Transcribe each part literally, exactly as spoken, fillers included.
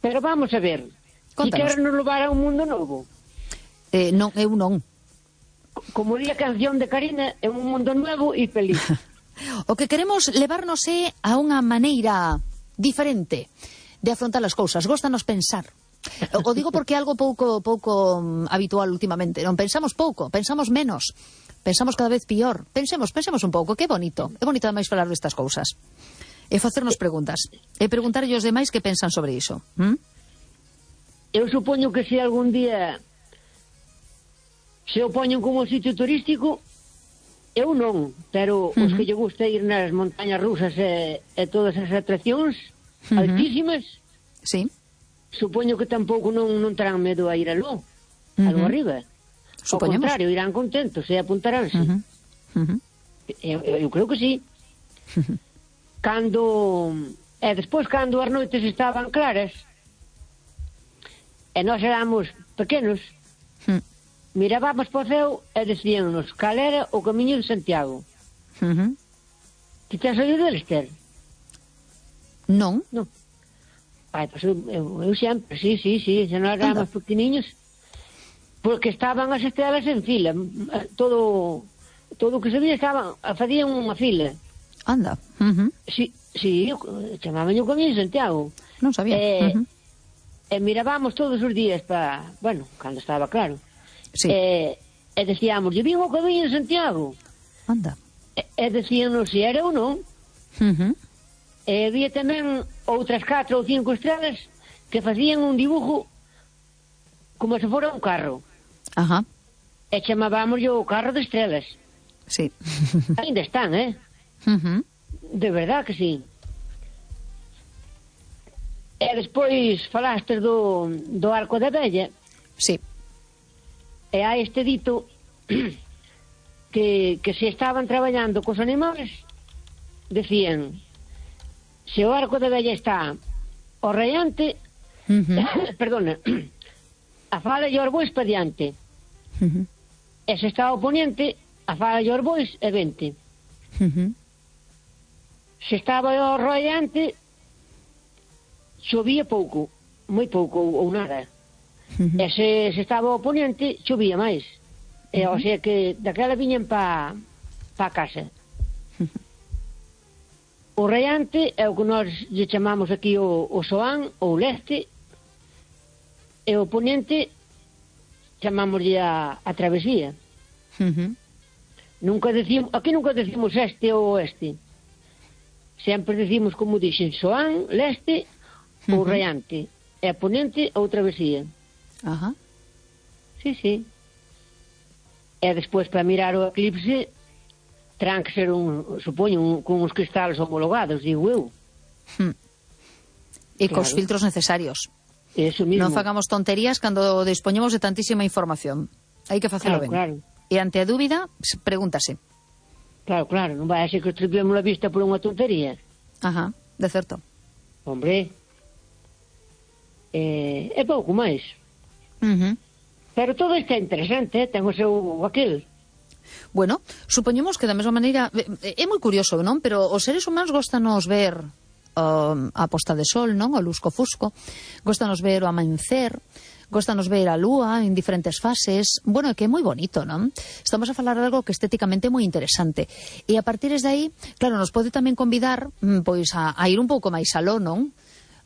Pero vamos a ver, si queres nos levar a un mundo novo. Eh, non, eu non. Como di a canción de Karina, é un mundo novo e feliz. O que queremos levarnos é a unha maneira diferente de afrontar as cousas. Góstanos pensar. O digo porque é algo pouco pouco habitual últimamente. Non pensamos pouco, pensamos menos, pensamos cada vez pior. Pensemos, pensemos un pouco, que bonito. É bonito ademais falar destas cousas. E facernos preguntas. E preguntarlle aos demais que pensan sobre iso. ¿Mm? Eu supoño que se algún día se o poñen como sitio turístico, eu non, pero uh-huh. os que lle gusta ir nas montañas rusas e, e todas as atraccións uh-huh. altísimas, sí. supoño que tampouco non, non terán medo a ir aló, uh-huh. aló arriba. Ao contrario, irán contentos e apuntaránse. Uh-huh. Uh-huh. Eu, eu creo que sí. Uh-huh. Cando... E despois, cando as noites estaban claras, e nós éramos pequenos, uh-huh. mirábamos para o ceo e decíanos cal era o camiño de Santiago. Uh-huh. Ti tens oído deles, Ter? Non. Non. Ai, pois eu, eu, eu sempre, sí, sí, sí, se nós éramos pequeniños, porque estaban as estrelas en fila, todo todo o que se vía estaban, facían unha fila. Anda. Uh-huh. Sí, sí, chamaban o camiño de Santiago. Non sabía. Eh, uh-huh. E mirábamos todos os días para, bueno, cando estaba claro. Sí. E, e decíamos, yo vin o camiño de Santiago. Anda. E, e decíanos se era ou non. Uh-huh. E había tamén outras catro ou cinco estrelas que facían un dibujo como se fora un carro. Ajá. E chamábamos o carro de estrelas. Sí. Ainda están, eh? Uh-huh. De verdad que sí. E despois falaste do, do Arco da Vella. Sí. E hai este dito que, que se estaban traballando cos animales, decían, se o Arco da Vella está o raiante, uh-huh. perdona, a fala e os bois pa diante. Uh-huh. E se está o poniente, a fala e os bois e vente. Uh-huh. Se estaba o raiante, chovía pouco, moi pouco ou nada. Uh-huh. E se, se estaba o poniente, chovía máis. E, uh-huh. O sea que daquela viñan pa, pa casa. Uh-huh. O raiante é o que nós lle chamamos aquí o, o soán ou leste, e o poniente chamámoslle a, a travesía. Uh-huh. Nunca decimos, aquí nunca decimos este ou oeste. Sempre decimos, como dixen, soán, leste ou uh-huh. raiante, e a poniente ou travesía. Ajá. Sí, sí. E despois, para mirar o eclipse, terán que ser un, supoño, un, con uns cristales homologados, digo eu. Hmm. E claro. Cos filtros necesarios. Eso mismo. Non fagamos tonterías cando dispoñemos de tantísima información. Hai que facelo claro, ben. Claro. E ante a dúbida, pregúntase. Claro, claro, non vai a ser que estripemos a vista por unha tontería. Ajá, de certo. Hombre, eh, é pouco máis. Uh-huh. Pero todo isto é interesante, eh? Ten o seu aquel. Bueno, supoñemos que da mesma maneira é moi curioso, non? Pero os seres humanos gostanos ver um, a posta de sol, non? O lusco-fusco, gostanos ver o amancer, gostanos ver a lúa en diferentes fases. Bueno, é que é moi bonito, non? Estamos a falar de algo que estéticamente é moi interesante. E a partir de aí, claro, nos pode tamén convidar pois a, a ir un pouco máis aló, non?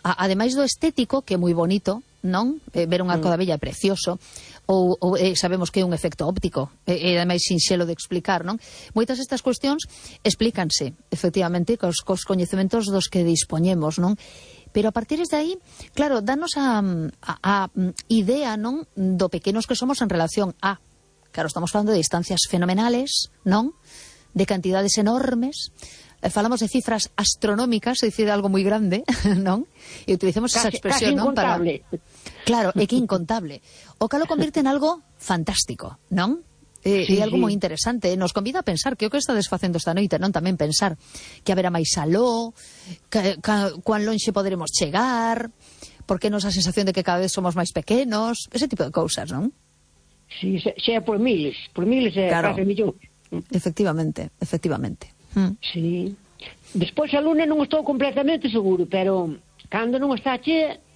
A, ademais do estético, que é moi bonito, non? Eh, ver un arco da Vella é precioso, ou, ou eh, sabemos que é un efecto óptico, e eh, ademais sinxelo de explicar, non? Moitas estas cuestións explícanse, efectivamente, cos, cos coñecementos dos que dispoñemos, non? Pero a partir de aí, claro, danos a, a, a idea, non, do pequenos que somos en relación a, claro, estamos falando de distancias fenomenales, non? De cantidades enormes. Falamos de cifras astronómicas, é dicir, algo moi grande, non? E utilizamos casi, esa expresión, casi non? Para... Claro, é que incontable. O que lo convirte en algo fantástico, non? E, sí, e algo sí. moi interesante. Nos convida a pensar que o que estades facendo esta noite, non? Tamén pensar que haberá máis aló, que, que, cuán lonxe poderemos chegar, porque nos a sensación de que cada vez somos máis pequenos, ese tipo de cousas, non? Sí, xa por miles, por miles e claro. case millóns. Efectivamente, efectivamente. Mm. Sí. Despois a luna non estou completamente seguro, pero cando non está chea,